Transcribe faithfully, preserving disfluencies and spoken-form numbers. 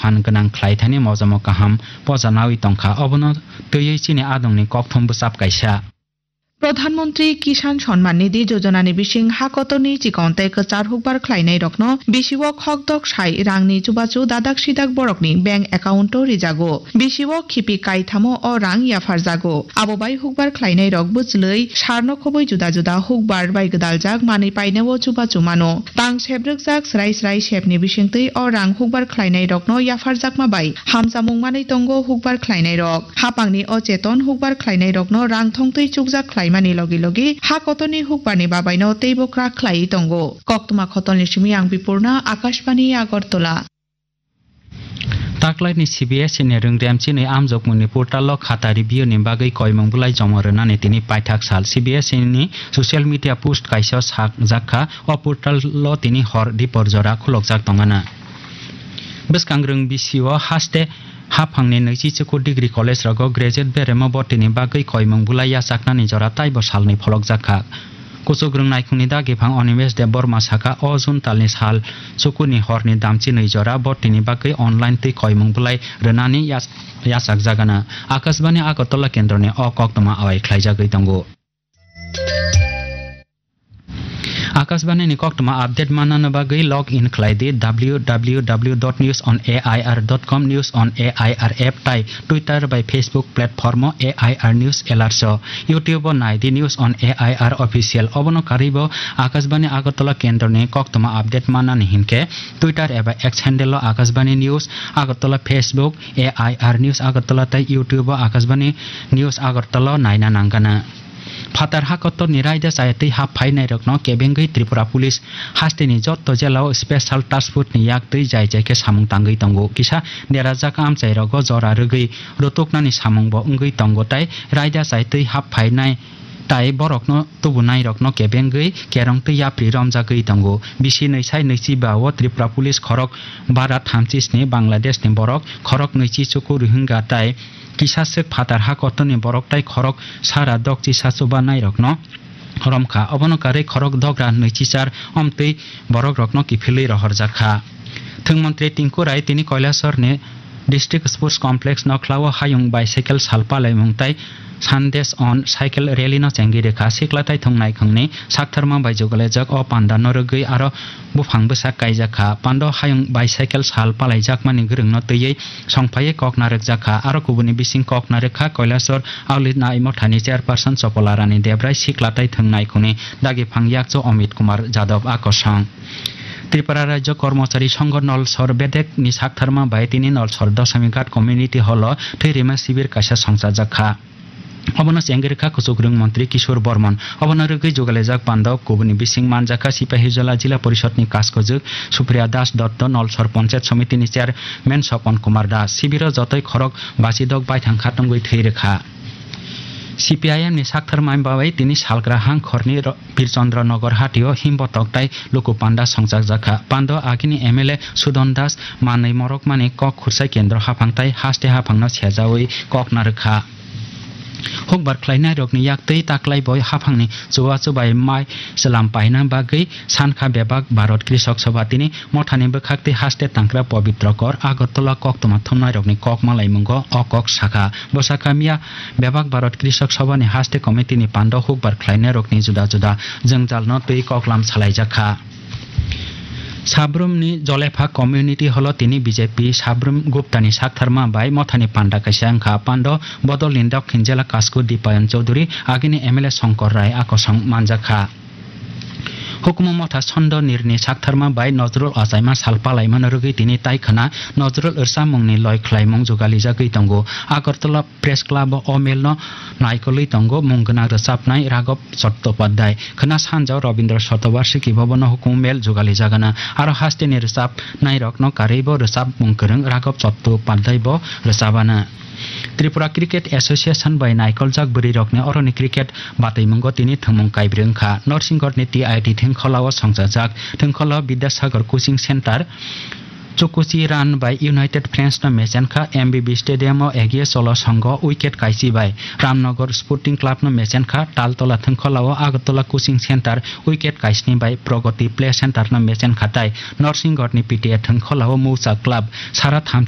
phan gwnang khlai thani mojamo kaham poja nawi tongkha, obono twiwi chini adongni kokthum bwchap kaisa. Pradhan Mantri Kisan Samman Nidhi Yojana ni bising ha kotorni chikon tei kwchar hukbar khlainai rokno bisio khokdok sai rangni chubachu dadak sidak borokni bank account o rijago. Bisio khipi kaithamo o rang yapharjago. Abo bai hukbar khlainai rok bwchlwi sarno khobwi juda juda hukbar bai gwdaljak manwi painao chubachu mano. Tang sebrwkjak srai srai sepni bisingtwi o rang hukbar khlainai rokno yapharjakma bai hamjamung manwi tongo hukbar khlainai rok. Hapangni o cheton hukbar khlainai rokno rang thongtwi chukjak khlaimani logi logi ha kotorni hukbarni babaino teibo kwrak khlaiwi tongo. Koktwma khotolni simi ang Bipurna, Akashbani Agartala. Taklaini C B S E ni rwngrem chini amjokmungni portal o khata review ni bagwi koimung bwlai jomo rwnani tini paithak sal. C B S E ni social media post kaisa sakjak kha, o portal o tini hor dipor jora khulokjak tongana. Bwskangrwng bisio haste haphangni nwichi chukur degree college rogo graduate beremo botini bagwi koimung bwlai yachaknani jora taibo salni pholokjak kha. Kuchukrwng naikhungni dagi phang Animesh Debbarma sakha, o June talni sal chukurni horni damchi nwi jora botini bagwi online twi koimung bwlai rwnani yach-, yachakjagana. Akashbani Agartala kendroni o koktwma awai khlaijagwi tongo. Akashbani ni koktwma update manna bagwi log in khlai di W W W dot news on A I R dot com, News on A I R app tai Twitter bai Facebook platform o A I R News Alerts o. YouTube o nai di News on A I R Official. Obono karwi bo Akashbani Agartala kendroni koktwma update mannani hinkhe Twitter eba X handle o Akashbani News Agartala, Facebook A I R News Agartala tei YouTube o Akashbani News Agartala o naina nangana. Phatar ha kotorni raida chaya twi hap phainairokno kebengwi Tripura Police hasteni jotto jela o Special Task Force ni yak twi jai jai khe samung tangwi tongo. Kisa derajak amchairogo jora rwgwi rutuknani samung bo wngwi tongo tei raida chai twi hap phainai tai borokno tubunairokno kebengwi kerong twi yapri romjagwi tongo. Bisi nwi sai nwichi ba o Tripura Police khorok bara thamchi sni Bangladesh ni borok khorok nwichi chuku Rohingya tai kisa swk phatar ha kotorni borok tai khorok sara dokchi sa chubanairokno romkha. Obono karwi khorok dogra nwichi char omtwi borokrokno kiphilwi rohorjakha. Thwng montri Tinku Rai tini Kailasor ni District Sports Complex nokhlao hayung bicycle sal palaimung tai Sandesh on Cycle Rally no chengwi rwkha. Sikla tai thwng naikhungni saktharma bai jugalaijak o panda no rwgwi aro buphang bwsa kaijakha. Pando hayung bicycle sal palaijakmani gwrwngno twiwi songphaiwi kok narwkjakha. Aro kubuni bising kok narwkha Kailasor Aulit Nai Mothani Chairperson Chopola Rani Debrai, sikla tai thwng naikhungni dagi phang yakchu Amit Kumar Jadab a kosong. Tripura Rajya Kormochari Songho Nolsor bedek ni saktharma bai tini Nolsor Dosami Ghat Community Hall o thwi rima sibir kaisa songchajak kha. Obono chengwi rwkha kuchukrwng montri Kishore Bormon. Obono rwgwi jugalaijak pando kubuni bising manjakha Sipahijola Jila Porishod ni kaskojwk Supriya Das Dotto, Nolsor Ponchayat Somiti ni Chairman Sopon Kumar Das. Sibiro jotoi khorok bachidok baithang kha tongwi thwi rwkha. C P I M ni saktharma bai tini salgra hang khorni ro-, Birchandra Nagar hatio himbotok tai luku panda songchakjak kha. Pando agini M L A Sudon Das manwi morokmani kok khursai kendro haphang tai haste haphangno sejawi kok narwkha. Hukbar khlainairokni yaktwi taklai bo haphangni chubachu bai mai chwlam paina bagwi sankha bebak Bharat Krishok Sabha tini mothani bwkhaktwi haste tangkra Pabitra Kar Agartala koktwma thumnairokni kok malaimungo o kok sakha. Bo sakha miya bebak Bharat Krishok Sabha ni haste committee ni pando hukbar khlainairokni juda juda jwngjalno twi koklam salaijak kha. Sabrumni Jolepha Community Hall o tini B J P Sabrum Gupta ni saktharma bai mothani panda kaisa wngkha. Pando bodol ni Dokhin Jela Kasku Dipayan Chowdhury, agini M L A Shankar Rai a kosong manjak kha. Hukumu motha Sondo Nirni saktharma bai Nojrul achaima sal palaimano rwgwi tini tai khwna Nojrul rwchapmungni loi khlaimung jugalijagwi tongo. Agartala Press Club o o mel no naikolwi tongo mung gwnang rwchapnai Raghav Chattopadhyay. Khwna sanja o Rabindra Shatobarshiki Bhavan o hukumu mel jugalijagana. Aro hasteni rwchapnairokno karwi bo rwchapmung kwrwng Raghav Chattopadhyay bo rwchapana. Tripura Cricket Association bai naikoljak bwrwirokni oroni cricket batwimungo tini thwngmung kaibrwi wngkha. Norsinghodni T I T thwngkhwlao songchajak. Thwngkhwlao Bidyasagar Coaching Centre Chukuchi run bai United Friends no mechen kha. M B B Stadium o Egiye Cholo Songho wicket kaisi bai Ramnagar Sporting Club no mechen kha. Taltola thwngkhwlao Agartala Coaching Centre wicket kaisni bai Pragati Play Centre no mechen kha tai Norsinghodni P T A thwngkhwlao Mousa Club sara thamchi